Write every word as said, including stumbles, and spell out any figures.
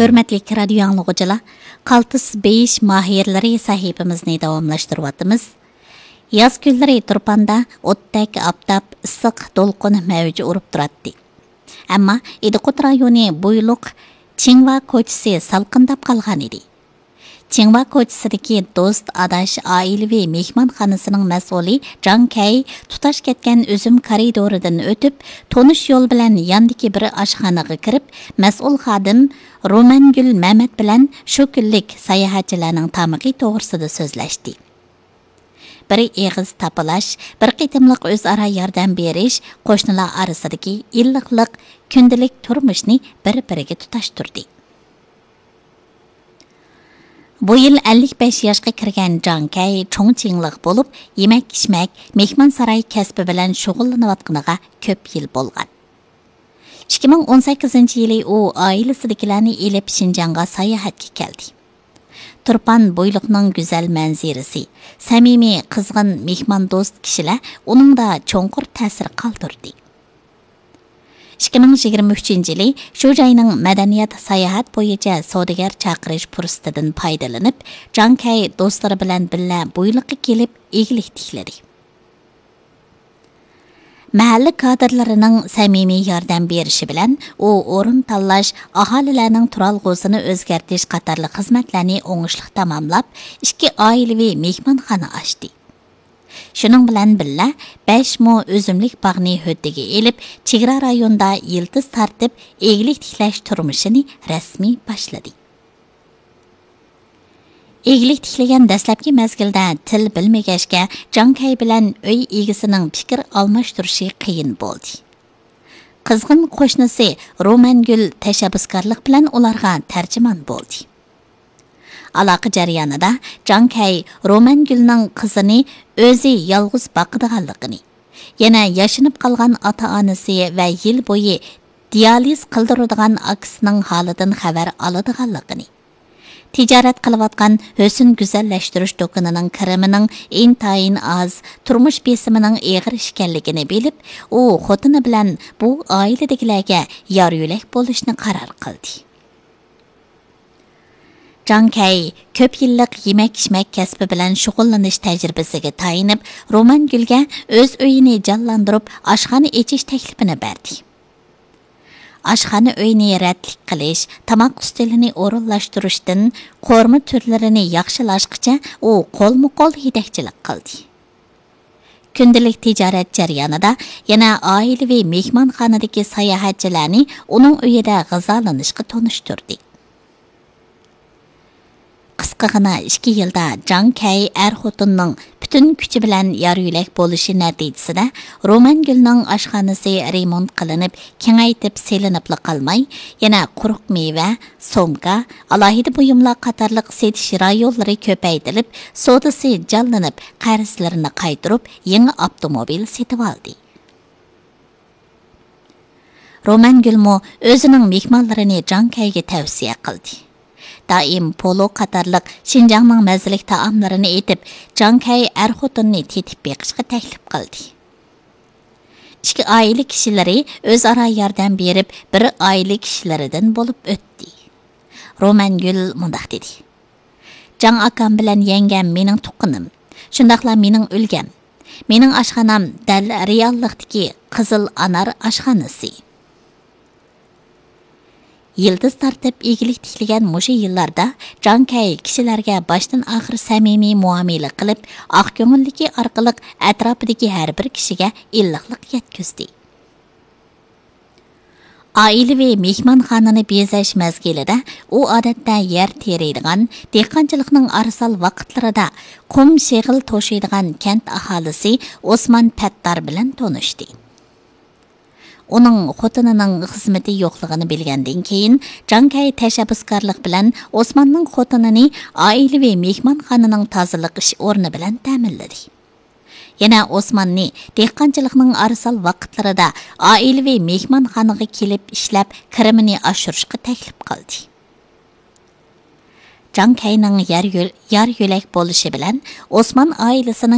ھۆرمەتلىك رادىيو ئاڭلىغۇچىلار، قالتىس بېيىش ماھىرلىرى سەھىپىمىزنى داۋاملاشتۇرۇۋاتىمىز. ياز كۈنلىرى تۇرپاندا ئوتتەك ئاپتاپ، ئىسسىق دولقۇن مەۋج ئۇرۇپ تۇراتتى. ئەمما ئىدىقۇت رايونى بويلۇق چىڭۋا كوچىسى سالقىنداپ قالغان ئىدى. چىڭۋا كوچىسىدىكى دوست، ئاداش ئائىلىۋى مېھمانخانىسىنىڭ مەسئۇلى جاڭ كەي تۇتاش كەتكەن ئۈزۈم كارىدورىدىن ئۆتۈپ، تونۇش يول بىلەن ياندىكى بىر ئاشخانىغا كىرىپ، مەسئۇل خادىم رومەنگۈل مەمەت بىلەن شۇ كۈنلۈك ساياھەتچىلەرنىڭ تامىقى توغرىسىدا سۆزلەشتى. بىر ئېغىز تاپىلاش، بىر قېتىملىق ئۆزئارا ياردەم بېرىش قوشنىلار ئارىسىدىكى ئىللىقلىق كۈندىلىك تۇرمۇشنى بىر-بىرىگە تۇتاشتۇردى. بۇ يىل ئەللىك بەش ياشقا كىرگەن جاڭ كەي چوڭ چىڭلىق بولۇپ، يېمەك-ئىچمەك، مېھمانساراي كەسپى بىلەن شۇغۇللىنىۋاتقىنىغا كۆپ يىل بولغان. ئىككى مىڭ ئون سەككىزىنچى يىلى ئۇ ئائىلىسىدىكىلەرنى ئېلىپ شىنجاڭغا ساياھەتكە كەلدى. تۇرپان بويلۇقنىڭ گۈزەل مەنزىرىسى، سەمىمىي، قىزغىن، مېھماندوست كىشىلەر ئۇنىڭدا چوڭقۇر تەسىر قالدۇردى. ئىككى مىڭ يىگىرمە ئۈچىنچى يىلى شۇ جاينىڭ مەدەنىيەت، ساياھەت بويىچە سودىگەر چاقىرىش پۇرسىتىدىن پايدىلىنىپ، جاڭ كەي دوستلىرى بىلەن بىللە بويلۇققا كېلىپ ئىگىلىك تىكلىدى. مەھەللە كادىرلىرىنىڭ سەمىمىي ياردەم بېرىشى بىلەن ئۇ ئورۇن تاللاش، ئاھالىلەرنىڭ تۇرالغۇسىنى ئۆزگەرتىش قاتارلىق خىزمەتلەرنى ئوڭۇشلۇق تاماملاپ، ئىككى ئائىلىۋى مېھمانخانا ئاچتى. شۇنىڭ بىلەن بىللە، بەش مو ئۈزۈملۈك باغنى ھۆددىگە ئېلىپ، چېگرا رايوندا يىلتىز تارتىپ، ئىگىلىك تىكلەش تۇرمۇشىنى رەسمىي باشلىدى. ئىگىلىك تىكلىگەن دەسلەپكى مەزگىلدە تىل بىلمىگەچكە، جاڭ كەي بىلەن ئۆي ئىگىسىنىڭ پىكىر ئالماشتۇرۇشى قىيىن بولدى. قىزغىن قوشنىسى رومەنگۈل تەشەببۇسكارلىق بىلەن ئۇلارغا تەرجىمان بولدى. ئالاقە جەريانىدا جاڭ كەي رومەنگۈلنىڭ قىزىنى ئۆزى يالغۇز باقىدىغانلىقىنى، يەنە ياشىنىپ قالغان ئاتا-ئانىسى ۋە يىل بويى دىيالىز قىلدۇرىدىغان ئاكىسىنىڭ ھالىدىن خەۋەر ئالىدىغانلىقىنى، تىجارەت قىلىۋاتقان ھۆسن گۈزەللەشتۈرۈش دۇكىنىنىڭ كىرىمىنىڭ ئىنتايىن ئاز، تۇرمۇش بېسىمىنىڭ ئېغىر ئىكەنلىكىنى بىلىپ، ئۇ خوتۇنى بىلەن بۇ ئائىلىدىكىلەرگە يار-يۆلەك بولۇشنى قارار قىلدى. جاڭ كەي كۆپ يىللىق يېمەك-ئىچمەك كەسپى بىلەن شۇغۇللىنىش تەجرىبىسىگە تايىنىپ، رومانگۈلگە ئۆز ئۆيىنى جانلاندۇرۇپ، ئاشخانا ئېچىش تەكلىپىنى بەردى. ئاشخانا ئۆينى رەتلىك قىلىش، تاماق ئۈستىلىنى ئورۇنلاشتۇرۇشتىن قورۇما تۈرلىرىنى ياخشىلاشقىچە ئۇ قولمۇ قول يېتەكچىلىك قىلدى. كۈندىلىك تىجارەت جەريانىدا يەنە ئائىلىۋى مېھمانخانىدىكى ساياھەتچىلەرنى ئۇنىڭ ئۆيىدە غىزالىنىشقا تونۇشتۇردى. قىسقىغىنا ئىككى يىلدا جاڭ كەي ئەر خوتۇننىڭ پۈتۈن كۈچى بىلەن يار يۆلەك بولۇشى نەتىجىسىدە، رومانگۈلنىڭ ئاشخانىسى رېمونت قىلىنىپ، كېڭەيتىپ سېلىنىپلا قالماي، يەنە قۇرۇق مېۋە، سومكا، ئالاھىدە بۇيۇملار قاتارلىق سېتىش رايونلىرى كۆپەيتىلىپ، سودىسى جانلىنىپ، قەرزلىرىنى قايتۇرۇپ، يېڭى ئاپتوموبىل سېتىۋالدى. رومانگۈلمۇ ئۆزىنىڭ مېھمانلىرىنى جاڭ كەيگە تەۋسىيە قىلدى. دائىم پولۇ قاتارلىق شىنجاڭنىڭ مەززىلىك تائاملىرىنى ئېتىپ، جاڭ كەي ئەر خوتۇننى تېتىپ بېقىشقا تەكلىپ قىلدى. ئىككى ئائىلە كىشىلىرى ئۆزئارا ياردەم بېرىپ، بىر ئائىلە كىشىلىرىدىن بولۇپ ئۆتتى. رومانگۈل مۇنداق دېدى: جاڭ ئاكام بىلەن يەڭگەم مېنىڭ تۇغقىنىم، شۇنداقلا مېنىڭ ئۈلگەم. مېنىڭ ئاشخانام دەل رېئاللىقتىكى قىزىل ئانار ئاشخانىسى. يىلتىز تارتىپ ئىگىلىك تىكلىگەن مۇشۇ يىللاردا جاڭ كەي كىشىلەرگە باشتىن ئاخىر سەمىمىي مۇئامىلە قىلىپ، ئاق كۆڭۈللۈكى ئارقىلىق ئەتراپىدىكى ھەر بىر كىشىگە ئىللىقلىق يەتكۈزدى. ئائىلىۋى مېھمانخانىنى بېزەش مەزگىلىدە ئۇ ئادەتتە يەر تېرىيدىغان، دېھقانچىلىقنىڭ ئارىسال ۋاقىتلىرىدا قۇم شېغىل توشۇيدىغان كەنت ئاھالىسى ئوسمان پەتتار بىلەن تونۇشتى. ئۇنىڭ خوتۇنىنىڭ خىزمىتى يوقلۇقىنى بىلگەندىن كېيىن، جاڭ كەي تەشەببۇسكارلىق بىلەن ئوسماننىڭ خوتۇنىنى ئائىلىۋى مېھمانخانىنىڭ تازىلىق ئىش ئورنى بىلەن تەمىنلىدى. يەنە ئوسماننى دېھقانچىلىقنىڭ ئارىسال ۋاقىتلىرىدا ئائىلىۋى مېھمانخانىغا كېلىپ ئىشلەپ، كىرىمىنى ئاشۇرۇشقا تەكلىپ قىلدى. جاڭ كەينىڭ يار يۆل-، يار يۆلەك بولۇشى بىلەن ئوسمان ئائىلىسىنىڭ